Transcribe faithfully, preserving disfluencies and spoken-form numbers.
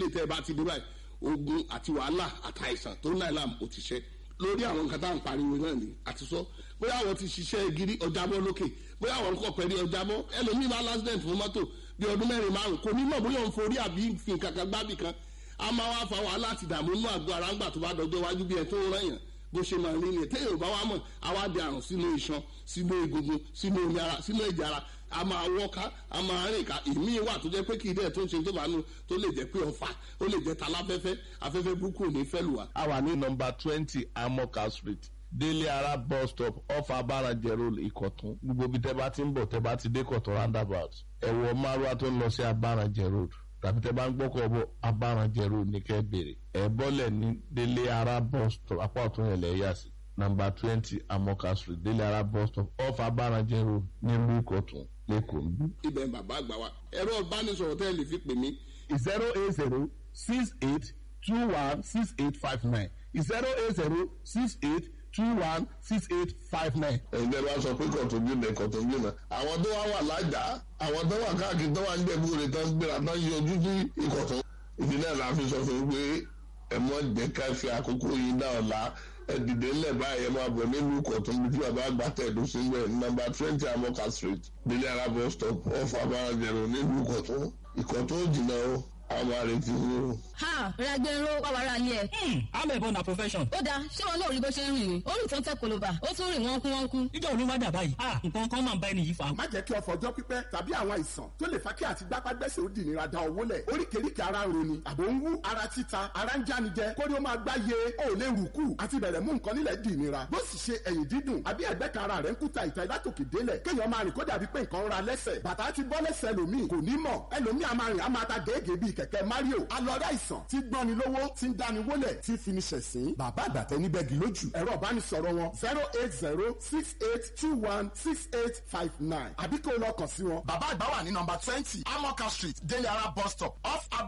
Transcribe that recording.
lè tẹ́ ẹ bá ti dé báyìí, ogun àti wàhálà àtàìsàn tó ń láìláàmù ó ti ṣe. Lórí àwọn nǹkan tá à ń pariwo náà ni àti sọ, bóyá àwọn ti ṣiṣẹ́ gírí ọjàbọ́ lókè, bóyá àwọn nǹkan pẹ̀lú ọjàbọ́. Ẹlòmíì bá lásìdẹ̀ǹt fún mọ́tò bí ọdún mẹ́rin márùn, kò ní mọ̀ bóyá òun forí àbí fi nǹkan kan gbábì kan. A máa wá fa wàhálà àti ìdààmú inú àgọ́ ara ńgbà tó bá dọjọ́ wájú, bí ẹ tó ń rán yàn bó ṣe máa rí ni. Téèyàn ò bá wá mọ̀, á wá di àrùn sínú iṣan, sínú egungun, sínú omi ara, sínú ẹ̀jẹ̀ ara. A máa wọ́ká, a máa rìn ká. Ìmíì wà tó jẹ́ pé kì í dẹ̀ tó ń ṣe tó bá nu, tó lè jẹ́ pé ọfà, ó lè jẹ́ taláfẹ́fẹ́. Afẹ́fẹ́ burúkú ò ní fẹ́ lù wá. A wà ní nọ́mbà twenty Amoka Street, Délé Ara bus stop, off Abarajẹ Road, Ìkọ̀tún. Gbogbo ibi tẹ́ bá ti ń bọ̀, tẹ́ bá ti dé Ìkọ̀tún roundabout, ẹ wọ márúwá tó ń lọ sí Abarajẹ Road, tàbí tẹ́ bá ń gbọ́kọ̀ bọ̀, Abarajẹ Road ní kẹ́ bèrè. Ẹ bọ́lẹ̀ ní Délé Ara bus stop, apá ọ̀tún yẹn lẹ̀ yà sí. Nọ́mbà twenty Amoka Street, Délé Ara bus stop, off Abarajẹ Road, nílùú Ìkọ̀tún, lẹ́kọ̀ọ́ ń bí. Ibẹ̀ ń bàbá àgbà wa. Ẹ̀rọ ìbánisọ̀rọ̀ tẹ́ ẹ lè fi pè mí: zero eight zero six eight two one six eight five nine, zero eight zero six eight two one six eight five nine. Ẹ̀yin tẹ́ bá sọ pé kọ̀tún jìnnà, kọ̀tún jìnnà, àwọn tó wá wà lájà, àwọn tó wà káàkiri, tó wà ń jẹ̀bú rẹ̀, tó ń gbéra, tó ń yọjú sí Ìkọ̀tún. Ìdí náà la fi sọ fún un pé ẹ mọ́ jẹ́ ká fi àkókò yìí dá ọ̀la. Ẹ dìde ńlẹ̀ báyìí, ẹ máa bọ̀ nílùú Ìkọ̀tún bí bàbá àgbà tẹ̀dó sí ń nọ́mbà twenty Amoka Street, Délé Ara bus stop, off Abarajẹ̀rò, nílùú Ìkọ̀tún. Ìkọ̀tún ò jìnnà o, àwọn àrètí yìí o. Ha, Ragbero wà wàrà ilé ẹ̀. Amẹ̀bọ na profession. Ó dáa, ṣé wọn náà rí bó ṣe ń rìn ni? Ó rìn tó ń tẹ koloba, ó tún rìn wọ́n kú wọ́n kú. Níjọ́ òun ló wá dà báyìí. Ah, nǹkan kan máa ń bá ẹni yìí fà. Má jẹ́ kí ọ̀fọ̀ ọjọ́ pípẹ́ tàbí àwọn àìsàn tó lè fa kí àti gbápágbẹ́sẹ̀ ó dìnira da owó lẹ̀. Oríkèéríkèé ara ń roni, àbò ń wú, ara títa, ara ń jánijẹ, kórí ó máa gbáyé, ó lè rùkú àti bẹ̀rẹ̀ mú nǹkan nílẹ̀ dìnira. Bó sì ṣe ẹ̀yìn dídùn àbí ẹ̀gbẹ́ kan ara rẹ̀ ń kúta ìta látòkè délẹ̀, kéèyàn máa rìn kó dàbí pé nǹkan ń ra lẹ́sẹ̀. Bàtà ti bọ́ lẹ́sẹ̀ ẹlòmíì, kò ní mọ̀. Ẹlòmíì a máa rìn, a máa ta gèégèé bíi kẹ̀kẹ́ Mario. Alọ́rẹ́ àìsàn tí gbọ́ni lówó, tí ń dáni wólẹ̀, tí fi ni ṣẹ̀sín. Bàbá àgbàtẹ́ níbẹ̀ gì lójú. Ẹ̀rọ ìbánisọ̀rọ̀ wọn: zero eight zero six eight two one six eight five nine, àbí kó o lọ kàn sí wọn. Bàbá àgbà wà ní nọ́mbà twenty Amoka Street, Délé Ara bus stop, off Aba